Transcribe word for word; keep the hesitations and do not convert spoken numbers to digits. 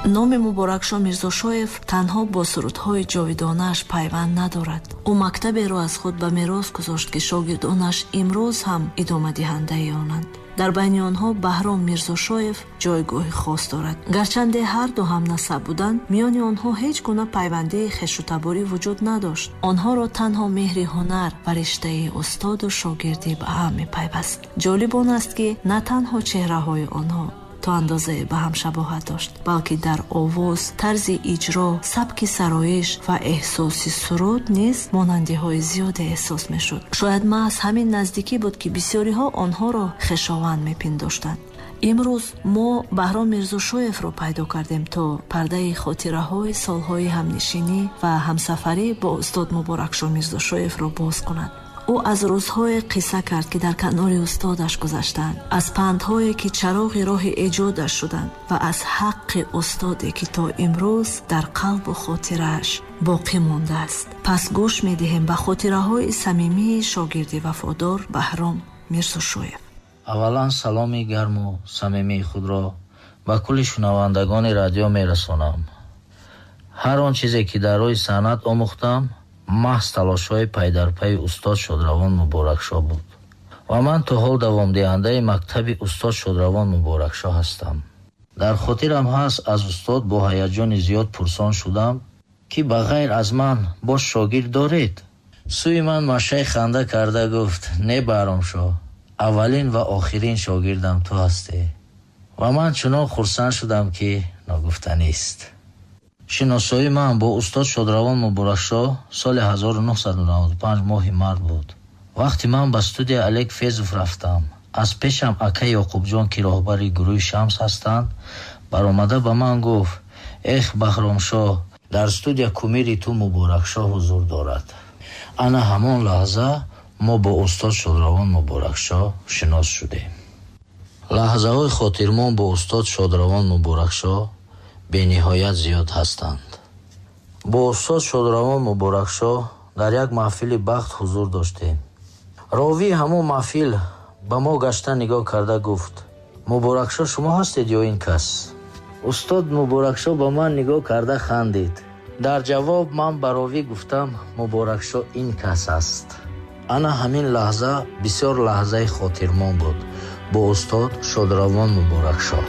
Номи Муборакшо Мирзошоев танҳо бо сурудҳои ҷовидонааш пайванд надорад. Ӯ мактаберо аз худ ба мерос гузошт, ки шогирдонаш имрӯз ҳам идомадиҳандаи онанд. Дар байни онҳо Баҳром Мирзошоев ҷойгоҳи хос дорад. Гарчанде ҳарду ҳамнасаб буданд, миёни онҳо ҳеҷ гуна пайвандии хешутаборӣ вуҷуд надошт. Онҳоро танҳо меҳри ҳунар ва риштаи устоду шогирдӣ ба ҳам мепайваст. Ҷолиб он аст, ки на танҳо чеҳраҳои онҳо то андозае ба ҳам шабоҳат дошт, балки дар овоз, тарзи иҷро, сабки сароиш ва эҳсоси суруд низ монандиҳои зиёде эҳсос мешуд. Шояд маҳз ҳамин наздикӣ буд, ки бисёриҳо онҳоро хешованд мепиндоштанд. Имрӯз мо Баҳром Мирзошоевро пайдо кардем, то пардаи хотираҳои солҳои ҳамнишинӣ ва ҳамсафарӣ бо устод Муборакшо Мирзошоевро боз кунад. Ӯ аз рӯзҳое қисса кард, ки дар канори устодаш гузаштанд, аз пандҳое, ки чароғи роҳи эҷодаш шуданд, ва аз ҳаққи устоде, ки то имрӯз дар қалбу хотирааш боқӣ мондааст. Пас гӯш медиҳем ба хотираҳои самимии шогирди вафодор Баҳром Мирзошоев. Аввалан саломи гарму самимии худро ба кулли шунавандагони радио мерасонам. Ҳар он чизе, ки дар роҳи санъат омӯхтам, маҳз талошҳои пайдарпайи устод Шодравон Муборакшо буд. Ва ман то ҳол давомдиҳандаи мактаби устод Шодравон Муборакшо ҳастам. Дар хотирам ҳаст, аз устод бо ҳаяҷони зиёд пурсон шудам, ки ба ғайр аз ман боз шогирд доред? Сӯи ман машаи ханда карда гуфт: не, Баҳромшо, аввалин ва охирин шогирдам ту ҳастӣ. Ва ман чунон хурсанд шудам, ки ногуфтанист. Шиносоии ман бо устод Шодравон Муборакшо соли ҳазору нӯҳсаду наваду панҷ моҳи март буд. Вақте ман ба студияи Олег Фезов рафтам, аз пешам ака Ёқубҷон, ки роҳбари гурӯҳи Шамс ҳастанд, баромада ба ман гуфт: эх, Баҳромшо, дар студия кумири ту Муборакшо ҳузур дорад. Ана ҳамон лаҳза мо бо устод Шодравон Муборакшо шинос шудем. Лаҳзаҳои хотирмон бо устод Шодравон Муборакшо бениҳоят зиёд ҳастанд. Бо устод Шодравон Муборакшо дар як маҳфили бахт ҳузур доштем. Ровии ҳамон маҳфил ба мо гашта нигоҳ карда гуфт: Муборакшо шумо ҳастед ё ин кас? Устод Муборакшо ба ман нигоҳ карда хандид. Дар ҷавоб ман ба ровӣ гуфтам: Муборакшо ин кас аст. Ана ҳамин лаҳза бисёр лаҳзаи хотирмон буд бо устод Шодравон Муборакшо.